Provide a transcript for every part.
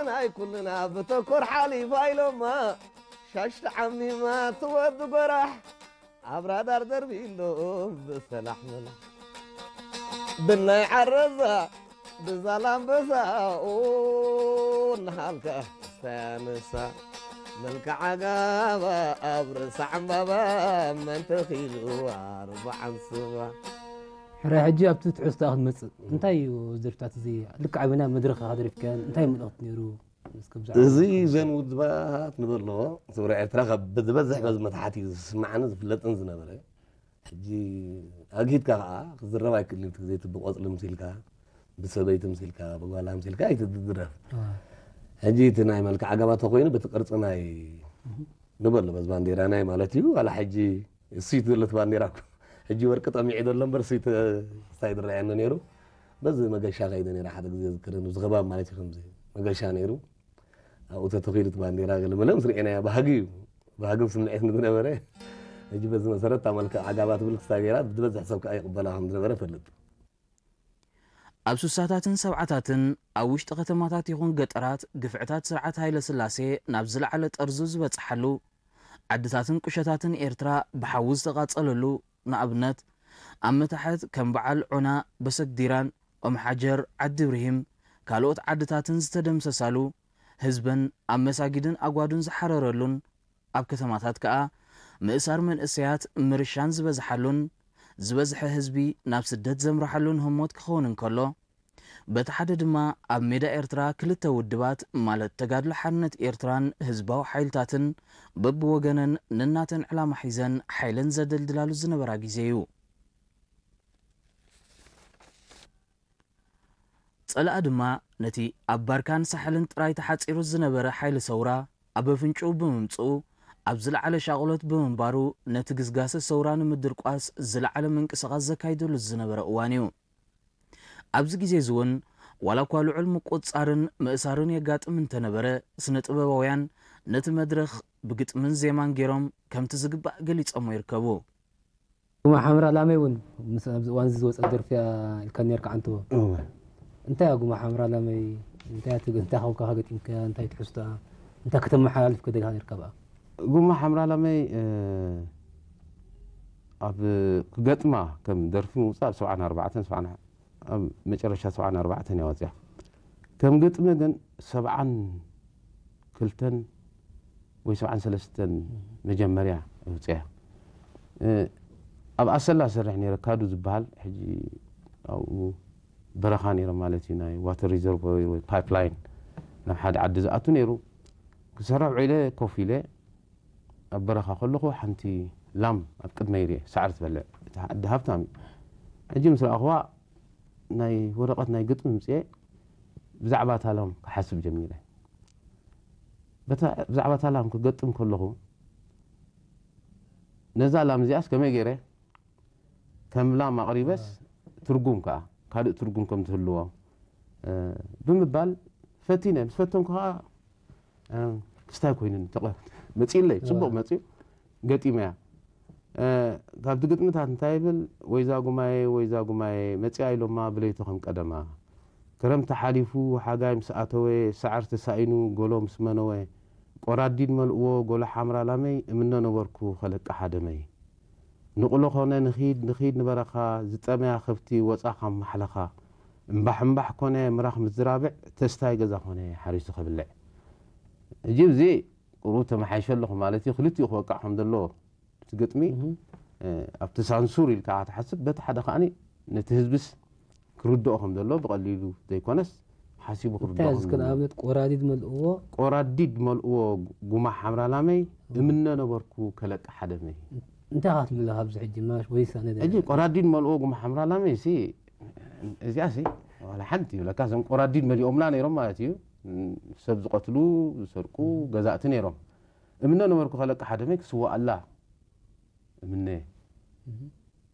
ናይ ኩልና ብተኮር ሓሊፋ ኢሎማ፣ ሻሽ ተዓሚማ ትወዲ ጎራሕ፣ ኣብ ራዳር ደርቢሎም ብሰላሕ መላሕ። ብናይ ዓረዛ ብዛላምበሳ፣ ኦ፣ እናሃልካ ክስታይ ኣነሳ። መልክዓ ጋባ ኣብ ርእሳ ዕምባባ፣ መን ተኺሉ ኣርባዓን ስባ። ሕራይ ሕጂ ኣብቲ ትሕዝቶኣ ክትመጽእ፣ እንታይ እዩ እዚ ደርፍታት እዚ? ልክዕ ኣበና መድረኽ ኢኻ ደሪፍካዮን፣ እንታይ መልእኽቲ ነይሩ? እስከ ብዛዕባ እዚ እዚ ዘን ውድባት ንበሎ፣ ስውራ ኤርትራ ካብ ዝበዝሕ በዚ መትሓት እዩ ዝስማዕን ዝፍለጥን ዝነበረ። ሕጂ ኣግሂድካ ከኣ ክዝረብ ኣይክእልን እዩ። እቲ ግዜ እቲ ብቆጽሊ ምሲልካ፣ ብሰበይቲ ምሲልካ፣ ብጓላ ምሲልካ ኣይትድረፍ። ኣዋ። ሕጂ እቲ ናይ መልክዕ ኣጋባቶ ኮይኑ በቲ ቅርጺ ናይ ንበሎ በዚ ባንዴራ ናይ ማለት እዩ። ዋላ ሕጂ እሱይ ዘለቲ ባንዴራ እኮ ሕጂ ወርቂ ጠሚዑ ዘሎ እምበር እሱይ ተ-፣ ስታይ ዝረኣየኒ ነይሩ። በዚ መገሻ ከይደ ነይረ ሓደ ግዜ ዝክርን ኣብዚ ከባቢ ማለት እዩ ከምዚ መገሻ ነይሩ። ኣብኡ ተተኺሉ እቲ ባንዴራ ገለ መለ ምስ ርኤናዮ ባህጊ እዩ። ባህግን ስምዒትን ዝነበረ። ሕጂ በዚ መሰረት እታ መልክዕ ዓጋባ ትብል ክስታይ ገይራ ዝበዝሕ ሰብ ከኣ ይቕበላ ከም ዝነበረ እፈልጥ። ኣብ ሱሳታትን ሰብዓታትን ኣብ ውሽጢ ከተማታት ይኹን ገጠራት ግፍዕታት ስርዓት ሃይለ ስላሴ ናብ ዝለዓለ ጠርዙ ዝበጽሓሉ፣ ዓድታትን ቁሸታትን ኤርትራ ብሓዊ ዝተቓጸለሉ፣ ንኣብነት ኣብ መታሕት ከም በዓል ዖና፣ በሰግዲራን፣ ኦም ሓጀር፣ ዓዲ ብርሂም፣ ካልኦት ዓድታትን ዝተደምሰሳሉ፣ ህዝበን ኣብ መሳጊድን ኣጓዱን ዝሓረረሉን፣ ኣብ ከተማታት ከኣ ምእሳር መንእሰያት ምርሻን ዝበዝሓሉን፣ ዝበዝሐ ህዝቢ ናብ ስደት ዘምርሓሉን ህሞት ክኸውን እንከሎ፣ በቲ ሓደ ድማ ኣብ ሜዳ ኤርትራ ክልተ ውድባት ማለት ተጋድሎ ሓርነት ኤርትራን ህዝባዊ ሓይልታትን በብወገነን ነናተን ዕላማ ሒዘን ሓይለን ዘደልድላሉ ዝነበራ ግዜ እዩ። ጸላኢ ድማ ነቲ ኣብ ባርካን ሳሕልን ጥራይ ተሓጺሩ ዝነበረ ሓይሊ ሰውራ ኣብ ኣፍንጭኡ ብምምጽኡ፣ ኣብ ዝለዓለ ሻቕሎት ብምንባሩ፣ ነቲ ግስጋሰ ሰውራ ንምድርቋስ ዝለዓለ ምንቅስቓስ ዘካይደሉ ዝነበረ እዋን እዩ። ኣብዚ ግዜ እዚ እውን፣ ዋላ እኳ ልዑል ምቁጽጻርን ምእሳርን የጋጥም እንተነበረ፣ ስነ ጥበባውያን ነቲ መድረኽ ብግጥምን ዜማን ገይሮም ከምቲ ዝግባእ ገሊጾሞ ይርከቡ። ጉማ ሓምራ ላመይ እውን ምስ ኣብዚ እዋን እዚ ዝወጸት ደርፊ እያ ኢልካ ነርካ ዓንተቦ። እወ። እንታይ እያ ጉማ ሓምራ ላመይ? እንታይ እያ ትግ-፣ እንታይ ኮንካ ገጢምካያ? እንታይ ትሕዝቶኣ? እንታይ ከተመሓላልፍ ከደሊኻ ነርካ ብኣ? ጉማ ሓምራ ላመይ፣ እ፣ ኣብ ክገጥማ ከም ደርፊ ምውጻእ ኣብ ሰብዓን ኣርባዕተን፣ ሰብዓን ኣብ መጨረሻ ሰብዓን ኣርባዕተን እያ ወጺኣ። ከም ግጥሚ ግን ሰብዓን ክልተን ወይ ሰብዓን ሰለስተን መጀመርያ ኣውጽያ። እ፣ ኣብ ኣሰላ ሰርሕ ነይረ፣ ካዱ ዝበሃል፣ ሕጂ ኣብኡ በረኻ ነይረ ማለት እዩ፣ ናይ ዋተር ሪዘርቮይር ወይ ፓይፕላይን ናብ ሓደ ዓዲ ዝኣቱ ነይሩ። ክሰርሕ ውዒለ ኮፍ ኢለ ኣብ በረኻ ከለኹ ሓንቲ ላም ኣብ ቅድመይ ርእየ፣ ሳዕሪ ትበልዕ። እታ ዓዲ ሃብታም እዩ። ሕጂ ምስ ረኣኹዋ ናይ ወረቐት ናይ ግጥሚ ምጽኤ ብዛዕባ እታ ላም ክሓስብ ጀሚረ። በታ፣ ብዛዕባ እታ ላም ክገጥም ከለኹ፣ ነዛ ላም እዚኣስ ከመይ ገይረ ከም ላም ኣቕሪበስ ትርጉም ከኣ፣ ካልእ ትርጉም ከም ትህልዎ፣ እ፣ ብምባል ፈቲነ። ምስ ፈተንኩ ከኣ፣ እ፣ ክስታይ ኮይኑኒ፣ ተቐ-፣ መጺኡለይ፣ ጽቡቕ መጺኡ፣ ገጢመያ። እ፣ ካብቲ ግጥምታት እንታይ ይብል? "ወይዛ ጉማየ፣ ወይዛ ጉማየ፣ መጺኣ ኢሎማ ብለይቲ ከም ቀደማ። ክረምቲ ሓሊፉ፣ ሓጋይ ምስ ኣተወ፣ ሳዕሪ ተሳኢኑ፣ ጎሎ ምስ መነወ፣ ቆራዲድ መልእዎ፣ ጎሎ ሓምራ ላመይ፣ እምነ ነበርኩ፣ ከለቅሓ ደመይ። ንቑሎ ኮነ ንኺድ፣ ንኺድ ንበረኻ፣ ዝጠመያ ከብቲ ወጻ ካብ ማሕለኻ። እምባሕ እምባሕ ኮነ ምራኽ ምስ ዝራብዕ፣ ተስታይ ገዛ ኮነ ሓሪሱ ከብልዕ።" ሕጂ እዚ ቁሩብ ተመሓይሸ ኣለኹ ማለት እዩ። ክልቲኡ ክወቃዕ ከም ዘለዎ እቲ ግጥሚ፣ እህ። እ፣ ኣብቲ ሳንሱር ኢልካ ትሓስብ፣ በቲ ሓደ ከኣኒ ነቲ ህዝብስ ክርድኦ ከም ዘሎ ብቐሊሉ ዘይኮነስ ሓሲቡ እንታይ ክርድኦ እዚ ከም ከም ዘለዎ። ኣብነት ቆራዲድ መልእዎ? ቆራዲድ መልእዎ ጉማ ሓምራ ላመይ፣ እም። እምነ ነበርኩ ከለቅሓ ደመይ። እንታይ ኢኻ ትብል ኣለኻ ኣብዚ ሕጂ? ማሽ ወይስ ኣነ ሕጂ ደለ? ቆራዲድ መልእዎ ጉማ ሓምራ ላመይ ሲ፣ እዚኣ ሲ፣ ዋላ ሓንቲ ይብለካ፣ እዞም ቆራዲድ መሊኦምና ነይሮም ማለት እዩ። ሰብ ዝቐትሉ፣ ዝሰርቁ፣ እም። ገዛእቲ ነይሮም። እምነ ነበርኩ ከለቅሓ ደመይ ክስዋኣላ እምነ። እም።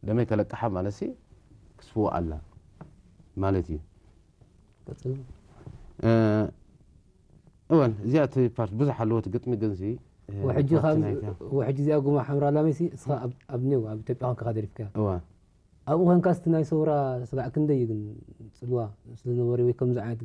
ደመይ ከለቅሓ ማለት ሲ ክስዋኣላ ማለት እዩ። ቀጽል። እ፣ እወን፣ እዚኣ እቲ ፓርት ብዙሕ ኣለዎ፣ እቲ ግጥሚ ግን ሲ፣ እ፣ ወሕጂ ፓርቲ ካብ፣ ናይታ። ወሕጂ እዚኣ ጉማ ሓምራ ላመይ ሲ፣ እስኻ ኣብ፣ ኣብ ኔው፣ ኣብ ኢትዮጵያ ኮንካ ደሪፍካያ። እወ። ኣብኡ ኮንካ እስቲ ናይ ሰውራ ስጋዕ ክንደይ እዩ ግን ጽልዋ ስለ ዝነበረ ወይ ከምዚ ዓይነት